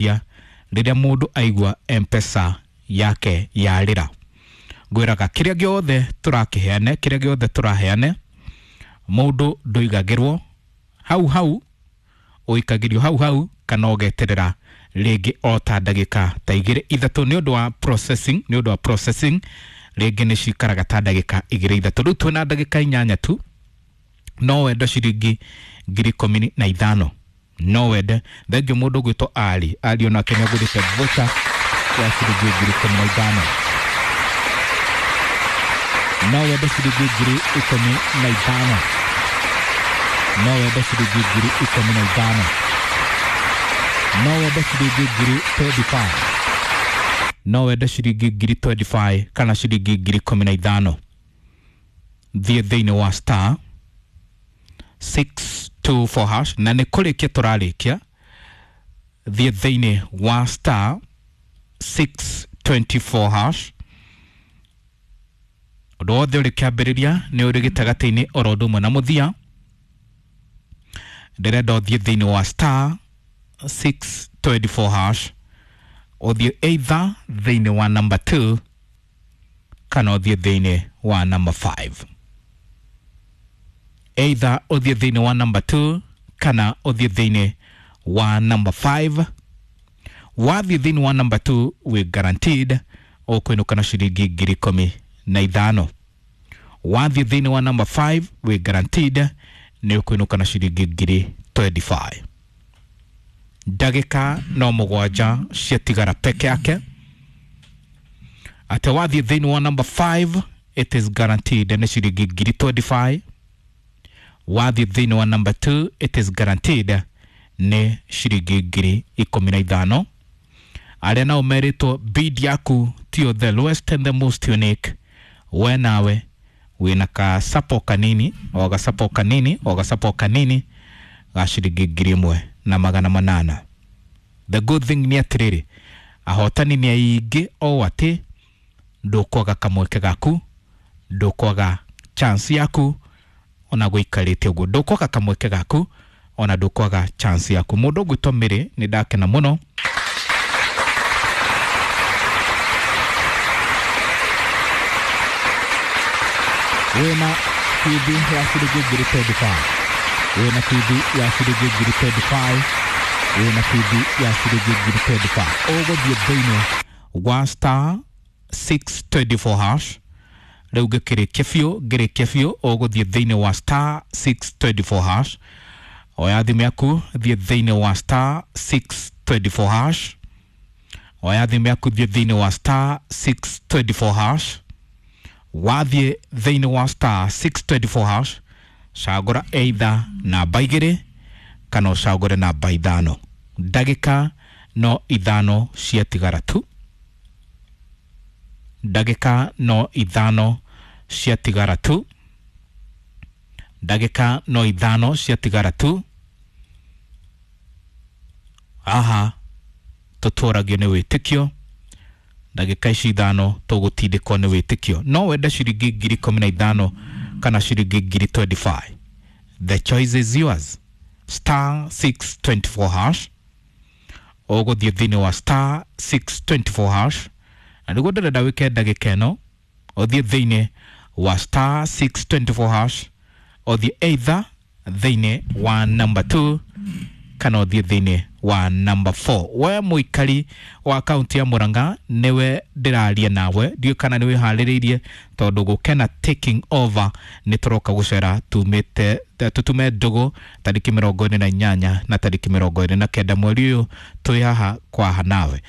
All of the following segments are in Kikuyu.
Rĩrĩa mũndũ aigua Mpesa yake yarĩra, ngwĩraga kĩrĩa gĩothe tũrakĩheane, kĩrĩa gĩothe tũraheane, mũndũ ndũigagĩrwo hau hau, ũikagĩrio hau hau kana ũgeterera rĩngĩ o ta ndagĩka ta igĩrĩ ithatũ nĩ ũndũ wa processing, nĩ ũndũ wa processing rĩngĩ nĩ cikaraga ta ndagĩka igĩrĩ ithatũ. Rĩu twĩna ndagĩka 8 tu. No wende ciringi 15,000, no wende. Thengio mũndũ ũgwĩtwo Ali Ali, onake nĩ agũrĩte voucher ya ciringi 15,000. No wende ciringi 15,000, no wende ciringi 15,000, no wende ciringi 25,000, no wende ciringi 25,000 kana ciringi 15,000. Thiĩ thĩinĩ wa star 624 hash, na nĩ kũrĩkia tũrarĩkia. Thiĩ thĩinĩ wa star 624 hash. Ũndũ wothe ũrĩ kĩambĩrĩria nĩ ũrĩ gĩtagatĩ-inĩ oro ũndũ ũmwe na mũthia. Ndĩrenda ũthiĩ thĩinĩ wa star 624 hash, ũthiĩ either thĩinĩ wa number 2 kana ũthiĩ thĩinĩ wa number 5. Either ũthiĩ thĩinĩ wa number 2 kana ũthiĩ thĩinĩ wa number 5. Wathiĩ thĩinĩ wa number 2, wĩ guaranteed ũkũinũka na ciringi 15,000. Wathiĩ thĩinĩ wa number 5, wĩ guaranteed nĩ ũkũinũka na ciringi 25,000. Ndagĩka no 7 ciatigara peke yake. Atĩ wathiĩ thĩinĩ wa number 5, it is guaranteed nĩ ciringi 25,000. Wathiĩ thĩinĩ wa number 2, it is guaranteed nĩ ciringi 15,000. Arĩa nao merĩtwo bid yaku tiyo the lowest and the most unique, we nawe wĩna kasapo kanini, o gasapo kanini, o gasapo kanini ga ciringi 1,800. The good thing nĩ atĩrĩrĩ, ahotani nĩ aingĩ o atĩ ndũkwaga kamweke gaku, ndũkwaga chance yaku ona gũikarĩte ũguo, ndũkwaga kamweke gaku ona ndũkwaga chance yaku. Mũndũ ũgwĩtwo Mĩrĩ, nĩ ndakena mũno. Wĩna bithi ya ciringi 25,000, wĩna bithi ya ciringi 25,000, wĩna bithi ya ciringi 25,000. Ũgũthiĩ thĩinĩ wa star 624 hash. Rĩu ngĩkĩrĩkia biũ, ngĩrĩkia biũ, ũgũthiĩ thĩinĩ wa star 624 hash. Oya thimũ yaku, thiĩ thĩinĩ wa star 624 hash. Oya thimũ yaku, thiĩ thĩinĩ wa star 624 hash. Wathiĩ thĩinĩ wa star 624 hash, cagũra either namba 2 kana ũcagũre namba 5. Ndagĩka no 5 ciatigara tu, ndagĩka no 5 ciatigara tu, ndagĩka no 5 ciatigara tu. Aha, tũtũragio nĩ wĩtĩkio. Ndagĩka ici 5 tũgũtindĩkwo nĩ wĩtĩkio. No wende ciringi 15,000 kana ciringi 25,000, the choice is yours. Star 624 hash. Ũgũthiĩ thĩinĩ wa star 624 hash, na nĩguo ndĩrenda wĩke ndagĩka ĩno. Ũthiĩ thĩinĩ wa star 624 hash, ũthiĩ either thĩinĩ wa number 2 kana ũthiĩ thĩinĩ wa number 4. We mũikari wa kaunti ya Murang'a, nĩwe ndĩraria nawe. Ndiũĩ kana nĩ wĩharĩrĩirie, tondũ gũkena taking over nĩ tũroka gũcera tumĩte tũtume ndũgũ tarĩki 28 na tarĩki 29 mweri ũyũ. Twĩ haha kwaha nawe.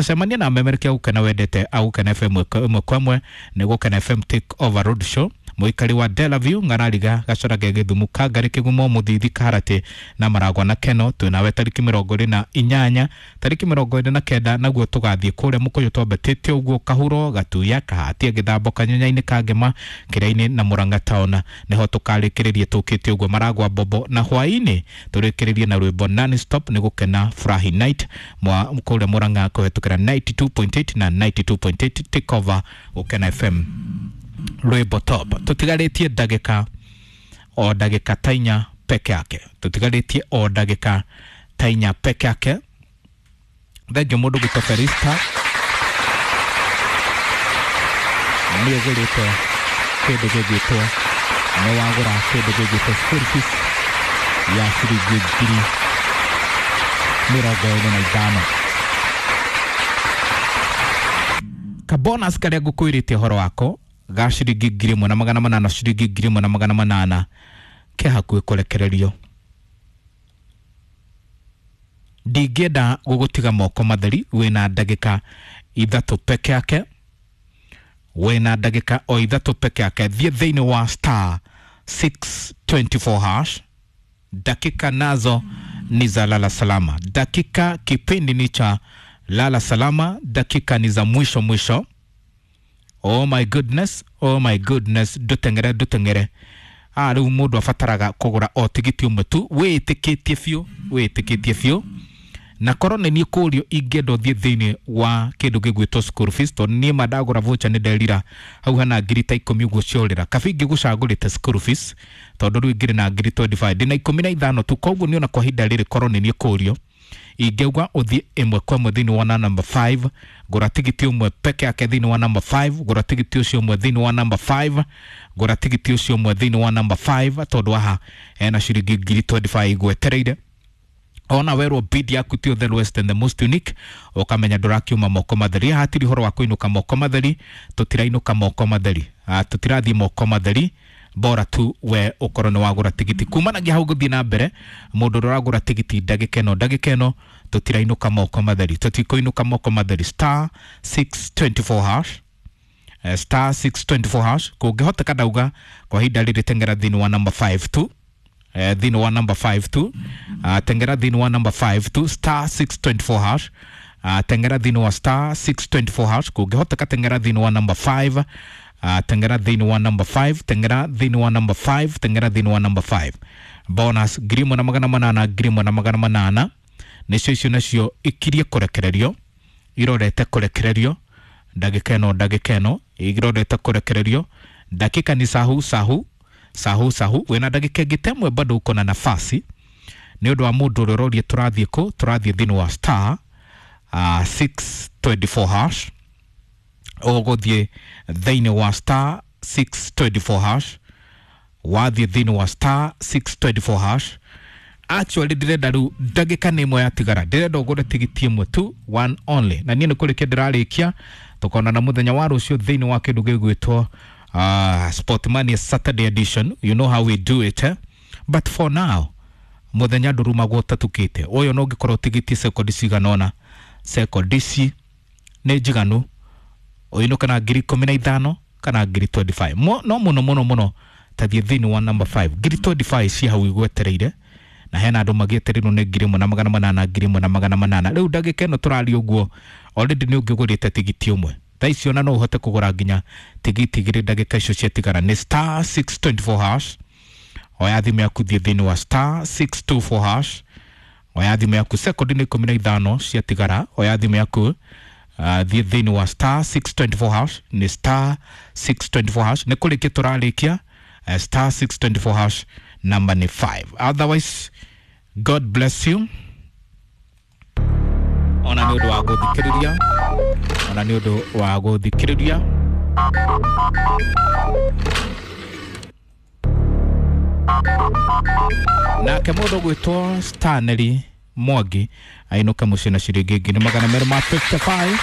Cemania na memerekia Gũkena wendete a Gũkena FM ĩmwe kwa ĩmwe. Nĩ Gũkena FM take over road show. Mũikari wa Delaview, Ng'arariga, Gacorage, Gĩthumu, Kangarĩ, Kĩgumo, Mũthithi, Kaharatĩ na Maragwa na Keno, twĩ nawe tarĩki 28. Tarĩki 29 naguo tũgathiĩ kũrĩa Mũkũyũ twambatĩte ũguo Kahuro, Gatuya, Kahatia, Gĩthambo, Kanyanya-inĩ, Kangema, Kĩrĩa-inĩ na Murang'a town. Nĩho tũkarĩkĩrĩria tũkĩte ũguo Maragwa Bobo, na hwaĩ-inĩ tũrĩkĩrĩrie na rwĩmbo non stop nĩ Gũkena Furahi Night mwa kũrĩa Murang'a kũhetũkĩra 92.8 na 92.8 take over Gũkena FM rwĩmbo top. Tũtigarĩtie ndagĩka o ndagĩka ta 4 peke yake, tũtigarĩtie o ndagĩka ta 4 peke yake. Thengio mũndũ gwĩtwo Felista, nĩ ũgũrĩte kĩndũ gĩgwĩtwo, nĩ wagũra kĩndũ gĩgwĩtwo school fees ya ciringi 25,000. Kabonus karĩa ngũkwĩrĩte ũhoro wako ga ciringi 1,800, ciringi 1,800 ke hakuhĩ kũrekererio. Ndingĩenda gũgũtiga moko matheri, wĩna ndagĩka 3 peke yake, wĩna ndagĩka o 3 peke yake. Thiĩ thĩinĩ wa star 624 hash. Dakika nazo ni za lala salama, dakika kipindi ni cha lala salama, dakika ni za mwisho mwisho. Oh my goodness, oh my goodness, ndutengere ndutengere. Rĩu mũndũ abataraga kũgũra o tigiti ũmwe tu, wĩtĩkĩtie biũ, wĩtĩkĩtie biũ. Na korwo nĩ niĩ kũrio ingĩenda ũthiĩ thĩinĩ wa kĩndũ gĩgwĩtwo school fees, tondũ niĩ ma ndagũra voucher nĩ nderira hau hana ngiri ta 10 ũguo ciorĩra. Kaba ingĩgũcagũrĩte school fees, tondũ rĩu ingĩrĩ na ngiri 25, ndĩna 15 tu. Koguo niĩ ona kwa ihinda rĩrĩ korwo nĩ niĩ kũrio ingĩuga ũthiĩ ĩmwe kwa ĩmwe thĩinĩ wa number 5, gũra tigiti ũmwe peke yake thĩinĩ wa number 5, gũra tigiti ũcio ũmwe thĩinĩ wa number 5, gũra tigiti ũcio ũmwe thĩinĩ wa number 5, tondũ haha hena ciringi ngiri 25 igwetereire. Ona werwo bid yaku ti the lowest and the most unique, ukamenya ndũrakiuma moko matheri. Hatiri ũhoro wa kũinũka moko matheri, tũtirainũka moko matheri, tũtirathiĩ moko matheri, bora tu we ũkorwo nĩ wagũra tigiti. Kumanagia hau gũthiĩ na mbere, mũndũ ũrĩa ũragũra tigiti ndagĩka ĩno, ndagĩka ĩno tũtirainũka moko matheri, tũtikũinũka moko matheri. Star 624 hash, star 624 hash. Kũngĩhoteka ndauga kwa ihinda rĩrĩ tengera thĩinĩ wa number 5 tu, thĩinĩ wa number 5 tu, tengera thĩinĩ wa number 5 tu, star 624 hash, tengera thĩinĩ wa star 624 hash. Kũngĩhoteka tengera thĩinĩ wa number 5, tengera thĩinĩ wa number 5, tengera thĩinĩ wa number 5, tengera thĩinĩ wa number 5. Bonus 1,800, 1,800 nĩcio icio nacio ikirie kũrekererio, irorete kũrekererio ndagĩka ĩno, ndagĩka ĩno irorete kũrekererio. Dakika ni sahu sahu sahu sahu, wĩna ndagĩka ĩngĩ ta ĩmwe bado uko na nafasi. Nĩ ũndũ wa mũndũ ũrĩa ũroria tũrathiĩ kũ, tũrathiĩ thĩinĩ wa star 624 hash. Ũgũthiĩ thĩinĩ wa star 624 hash, wathiĩ thĩinĩ wa star 624 hash. Actually ndĩrenda rĩu ndagĩka nĩ ĩmwe yatigara, ndĩrenda ũgũre tigiti ĩmwe tu, one only. Na niĩ nĩ kũrĩkia ndĩrarĩkia, tũkonana mũthenya wa rũciũ thĩinĩ wa kĩndũ gĩgwĩtwo Sportmania Saturday edition. You know how we do it, eh? But for now mũthenya ndũrumagwo ũtatukĩte. Ũyũ no ũngĩkorwo tigiti sekondi cigana ũna, sekondi ici nĩ njiganu ũinũke na ngiri 15 kana ngiri 25. No mũno mũno mũno tathiĩ thĩinĩ wa number 5, ngiri 25 ci hau igwetereire, na hena andũ magĩetereirwo nĩ 1,800, 1,800. Rĩu ndagĩka ĩno tũraria ũguo already nĩ ũngĩgũrĩte tigiti ũmwe. Thaa ici ona no ũhote kũgũra nginya tigiti 2 ndagĩka icio ciatigara. Nĩ star 624 hash. Oya thimũ yaku thiĩ thĩinĩ wa star 624 hash. Oya thimũ yaku sekondi nĩ 15 ciatigara. Oya thimũ yaku thiĩ thĩinĩ wa star 624 hash. Nĩ star 624 hash. Nĩ kũrĩkia tũrarĩkia, star 624 hash, number ni 5. Otherwise God bless you. Ona nĩ ũndũ wa gũthikĩrĩria, ona nĩ ũndũ wa gũthikĩrĩria. Nake mũndũ gwĩtwo Stanley Mwangi ainũke mũciĩ na ciringi 255.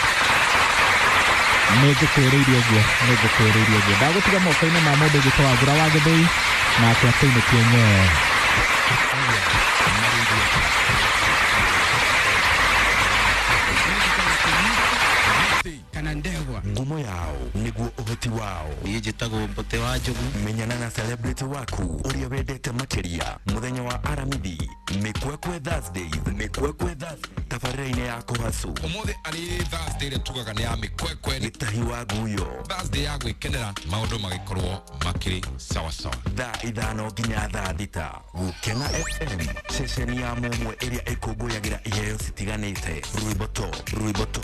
Nĩ ngũkwĩrĩirie ũguo, nĩ ngũkwĩrĩirie ũguo. Ndagũtiga moko-inĩ ma mũndũ gwĩtwo Wangũra wa Gĩthũi, nake akũinũkie nyee. Ngumo yao niguo ũhoti wao. Niĩ njĩtagwo Mbote wa Njogu. Menyana na celebrity waku ũrĩa wendete makĩria mũthenya wa Aramithi, Mĩkwekwe Thursdays, Mĩkwekwe Thursdays, tabarĩra-inĩ ya Kũhacu. Ũmũthĩ arĩ Thursday ĩrĩa tugaga nĩ ya mĩkwekwe, Gĩtahi wa Nguyo, Thursday ya gwĩkenera maũndũ magĩkorwo makĩrĩ sawa sawa. Thaa 5 nginya thaa 6. Gũkena FM, ceceni ya mũmwe ĩrĩa ĩkũngũyagĩra iheo citiganĩte. Rwĩmbo to, rwĩmbo to.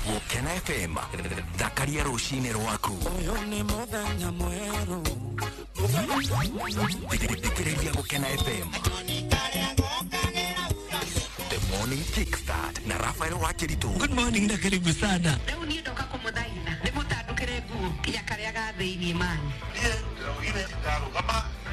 Gũkena FM, thakaria rũcinĩ rwaku. Ũyũ nĩ mũthenya mwerũ. Thikĩrĩria Gũkena FM. The Morning Kickstart na Rafael Wakiritu. Good morning na karibu sana. Rĩu niĩ ndoka kũmũthaitha ndĩmũtandũkĩre nguo nginya karĩa ga thĩiniĩ mani.